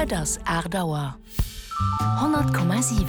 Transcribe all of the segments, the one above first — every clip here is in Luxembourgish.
Et ass 8 Auer. 100,7.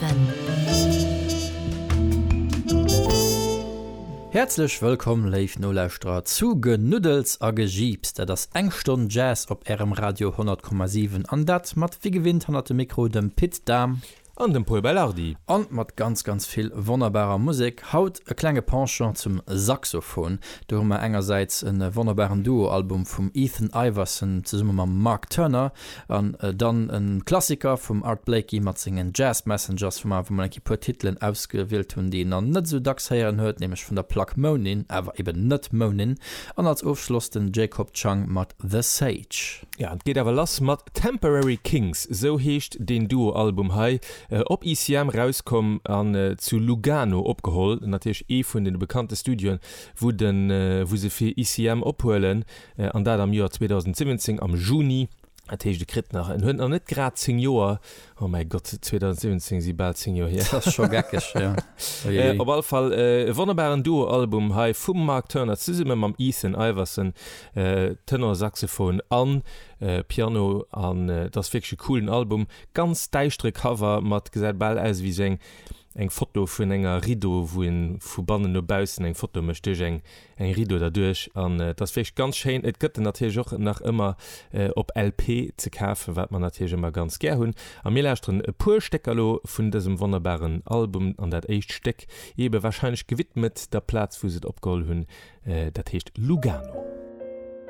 Häerzlech wëllkomm, léif Nolauschterer, zu Genuddels a Gejiips. Dat ass eng Stonn Jazz op Ärem Radio 100,7 an dat mat wéi gewinnt hannert dem Mikro dem Pit Dahm. An dem Pol Belardi. An mat ganz ganz vill wonnerbarer Musek. Haut e klenge Penchant zum Saxophon. Do hu mer engersäits e wonnerbaren Duo-Album vum Ethan Iverson zesumme mam Mark Turner an dann e Klassiker vum Art Blakey mat sengen Jazz Messengers, wou mer awer mol eng Kéier puer Titelen ausgewielt hunn, déi een nach net esou dacks héieren huet, nämlech vun der Plack Moanin', awer eben net Moanin'. An als Ofschloss den Jacob Chang mat The Sage. Ja, et geet awer lass mat Temporary Kings, esou heescht deen Duo-Album hei, op ECM rauskomm an zu Lugano opgeholl, natierlech ee vun den bekannte Studioen, wou den, wou se fir ECM ophuelen, an dat am Joer 2017 am Juni. Dat heescht, e kritt nach, en huet nach net grad 10 Joer, oh mäi Gott, 2017 si bal 10 Joer hier. Dat ass scho geckeg, jo. Uiuiui. Op alle Fall e wonnerbaren Duo-Album hei vum Mark Turner zesumme mam Ethan Iverson, Tenorsaxophon an Piano an et ass wierklech e coolen Album. Ganz däischtere Cover mat, gesäit bal aus ewéi sou eng eng Foto vun enger Rideau, wou een vu bannen no baussen eng Foto mécht duerch eng eng Rideau derduerch an et ass wierklech ganz schéin. Et gëtt en natierlech och nach ëmmer op LP ze kafen, wat mer natierlech ëmmer ganz gär hunn. A mir lauschteren e puer Stécker elo vun dësem wonnerbaren Album an dat éischt Stéck ebe warscheinlech gewidmet der Plaz wou se et opgeholl hunn, dat heescht Lugano.